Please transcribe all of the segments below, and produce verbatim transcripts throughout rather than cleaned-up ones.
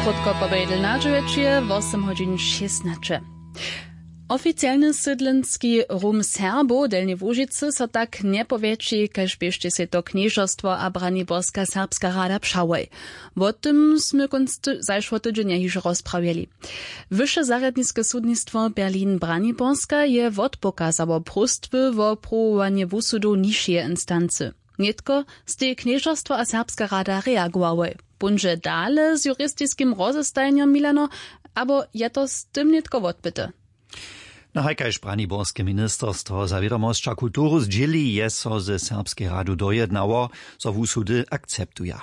Krótko po pojedel na dźewjećije wosym hodźin šěsnaće. Oficialny sydlenski rum Serbow w Delnjej Łužicy so tak njepowjetši, kaž běštej sej to knježerstwo a Braniborska serbska rada přałoj. Wo tym smy kónc ty- zašło tydźenja hižo rozprawjeli. Wyše zarjadniske sudnistwo Berlin Braniborska je wotpokazało próstwy wo pruwowanje wusudow nižšeje instancy. Nětko stej knježerstwo a serbska rada reagowałoj. Póńdźe dale z juristiskim rozestajenjom, Milano, abo je to z tym nětko wotbyte? No haj kaž braniborske ministerstwo za wědomosć a kulturu zdźěli, je so ze serbskej radu dojednało, zo wusudy akceptuja.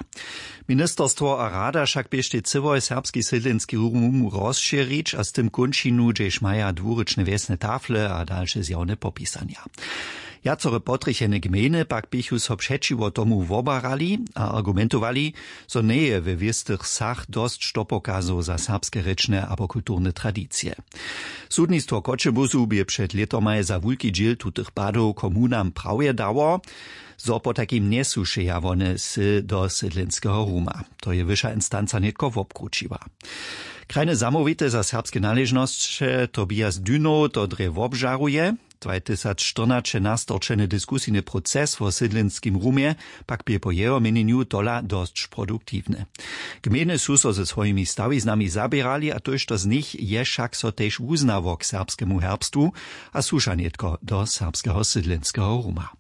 Ministerstwo a rada wšak běštej cyłoj serbski sydlenski rum rozšěrić a z tym kónčinu, hdźež maja dwurěčne wjesne tafle a dalše zjawne popisanja. Wjacore potrjechene gmejny pak běchu so přećiwo tomu wobarali a argumentowali, zo njeje we wěstych wsach dosć dopokazow za serbske rěčne abo kulturne tradicije. Sudnistwo w Choćebuzu bě před lětomaj za wulki dźěl tutych padow komunam prawje dało, zo potajkim njesu wšeja wone sy do sydlenskeho ruma. To je wyša instanca nětko wobkrućiła. Krajne zamołwite za serbske naležnosće Tobias Dünow to drje wobžaruje. Dwajtysacštyrnaće nastorčeny diskusijny proces wo sydlenskim rumje pak bě po jeho měnjenju tola dosć produktiwny. Gmejny su so ze swojimi stawiznami zaběrali a tójšto z nich je wšak so tež wuznało k serbskemu herbstwu a słuša nětko do serbskeho sydlenskeho ruma.